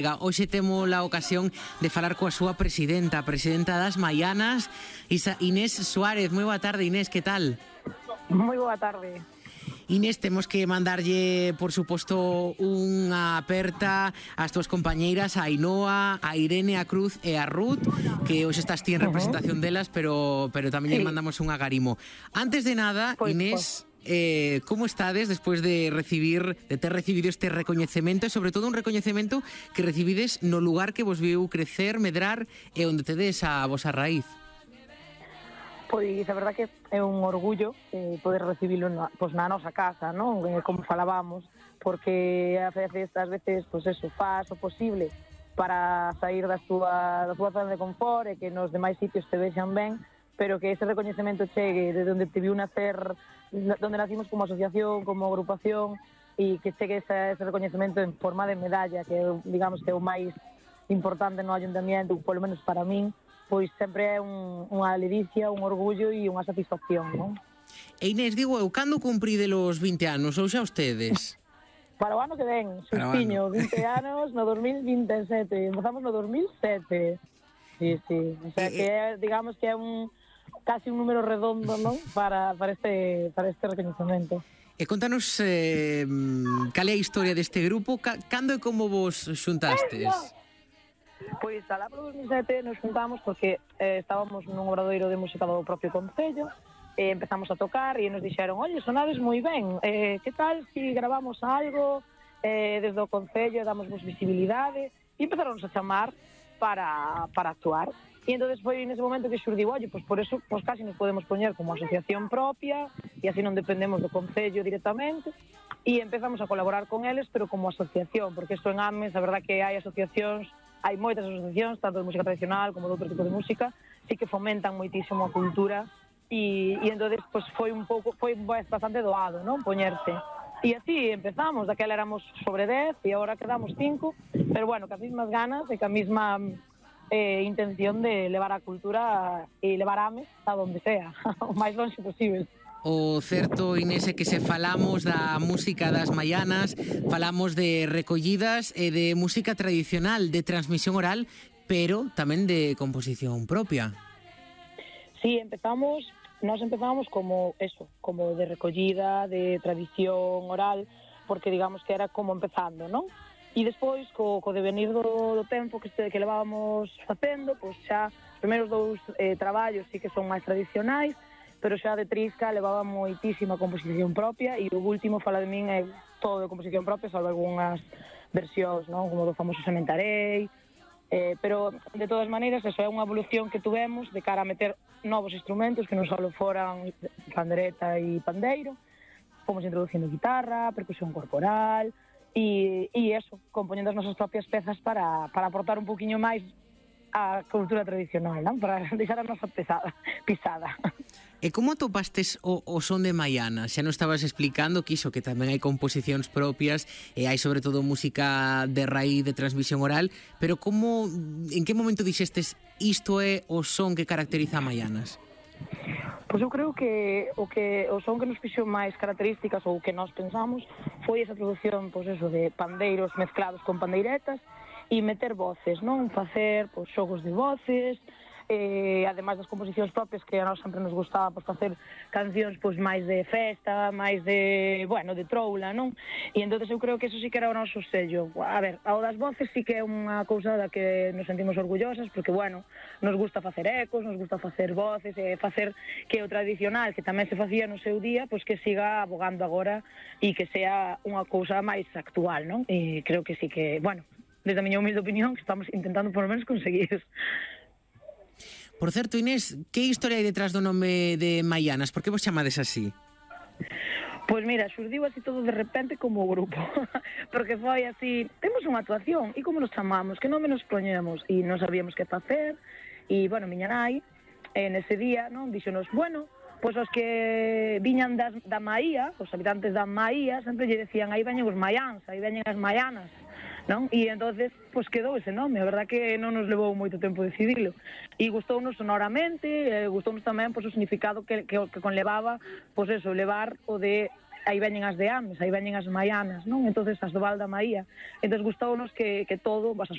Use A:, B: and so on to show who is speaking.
A: Hoxe temos a ocasión de falar coa súa presidenta, a presidenta das Maianas, Inés Suárez. Moi boa tarde, Inés, que tal?
B: Moi boa tarde.
A: Inés, temos que mandarlle, por suposto, unha aperta ás túas compañeiras, a Ainhoa, a Irene, a Cruz e a Ruth, que hoxe estás ti en representación delas, pero tamén lle mandamos un agarimo. Antes de nada, Inés, como estades despois de ter recibido este recoñecemento e sobre todo un recoñecemento que recibides no lugar que vos viu crecer, medrar e onde tedes a vosa raíz?
B: Pois a verdad que é un orgullo poder recibilo na nosa casa, non? Como falábamos, porque ás veces, pois eso, faz o posible para sair da súa zona de confort e que nos demais sitios te vexan ben, pero que ese recoñecemento chegue de onde te viu nacer, donde nacimos como asociación, como agrupación, e que chegue ese recoñecemento en forma de medalla, que digamos que é o máis importante no ayuntamiento, polo menos para min, pois sempre é unha ledicia, un orgullo e unha satisfacción, non?
A: E Inés, digo eu, cando cumpride os 20 anos, ou xa ustedes?
B: Para o ano que ven, xustiño, 20 anos no 2027, empezamos no 2007. Sí. O sea que é, digamos que é casi un número redondo, non? Para este recoñecemento.
A: E contanos cal é a historia deste grupo, cando e como vos xuntastes?
B: Pois alá pro 2007 nos juntamos porque estábamos nun obradoiro de música do propio concello e empezamos a tocar e nos dixeron, oye, sonades moi ben, que tal si gravamos algo desde o concello, damosvos visibilidade, e empezaron a chamar para actuar. E entonces foi nese momento que xurdiu, oye, pois por eso pois casi nos podemos poñer como asociación propia e así non dependemos do concello directamente, e empezamos a colaborar con eles, pero como asociación, porque isto en Ames, a verdad que hai asociacións, hai moitas asociacións, tanto de música tradicional como de outro tipo de música, sí que fomentan moitísimo a cultura e entonces pues, foi bastante doado, non? Poñerse. E así empezamos, daquela éramos sobre 10 e agora quedamos 5, pero bueno, que as mismas ganas e que a misma intención de levar a cultura e levar Ames a donde sea, o máis longe posible.
A: O certo, Inés, é que se falamos da música das Maianas, falamos de recollidas e de música tradicional, de transmisión oral, pero tamén de composición propia.
B: Sí, nós empezamos como eso, como de recollida, de tradición oral, porque digamos que era como empezando, non? E despois, co devenir do tempo que levábamos facendo, pois xa os primeiros 2 traballos sí que son máis tradicionais, pero xa de Trisca levaba moitísima composición propia e o último fala de min é todo de composición propia, salvo algunhas versións, non? Como do famoso Sementarei, pero de todas maneiras eso é unha evolución que tuvemos de cara a meter novos instrumentos que non só foran pandereta e pandeiro, fomos introducindo guitarra, percusión corporal e eso, compoñendo as nosas propias pezas para aportar un poquinho máis a cultura tradicional, non? Para deixar a nosa pisada.
A: E como atopastes o son de Maianas? Xa nos estabas explicando que iso, que tamén hai composicións propias e hai sobre todo música de raíz, de transmisión oral, pero en que momento dixestes isto é o son que caracteriza a Maianas?
B: Pois eu creo que o son que nos fixo máis características ou que nós pensamos foi esa produción, pois eso, de pandeiros mezclados con pandeiretas e meter voces, non? Facer pois xogos de voces, ademais das composicións propias que a nós sempre nos gustaba pois, facer cancións pois máis de festa, máis de troula, non? E entonces eu creo que eso sí que era o noso sello. A ver, ao das voces sí que é unha cousa da que nos sentimos orgullosas porque, nos gusta facer ecos, nos gusta facer voces e facer que o tradicional, que tamén se facía no seu día, pois que siga abogando agora e que sea unha cousa máis actual, non? E creo que sí que, desde a miña humilde opinión, que estamos intentando por lo menos conseguir.
A: Por certo, Inés, que historia hai detrás do nome de Maianas? Por que vos chamades así?
B: Pois mira, xurdiu así todo de repente como grupo, porque foi así, temos unha actuación, e como nos chamamos, que nome nos poñemos, e non sabíamos que facer, e, miña nai, nese día, non, dixonos, pois os que viñan da Maía, os habitantes da Maía, sempre lle decían, aí veñen os maiáns, aí veñen as maianas, non? E entonces, pois quedou ese nome, a verdad que non nos levou moito tempo decidilo. E gustounos sonoramente, gustounos tamén pois o significado que conlevaba, pois eso, levar o de aí veñen as de Ames, aí veñen as maianas, non? Entonces as do Val da Maía. Entonces gustounos que todo, as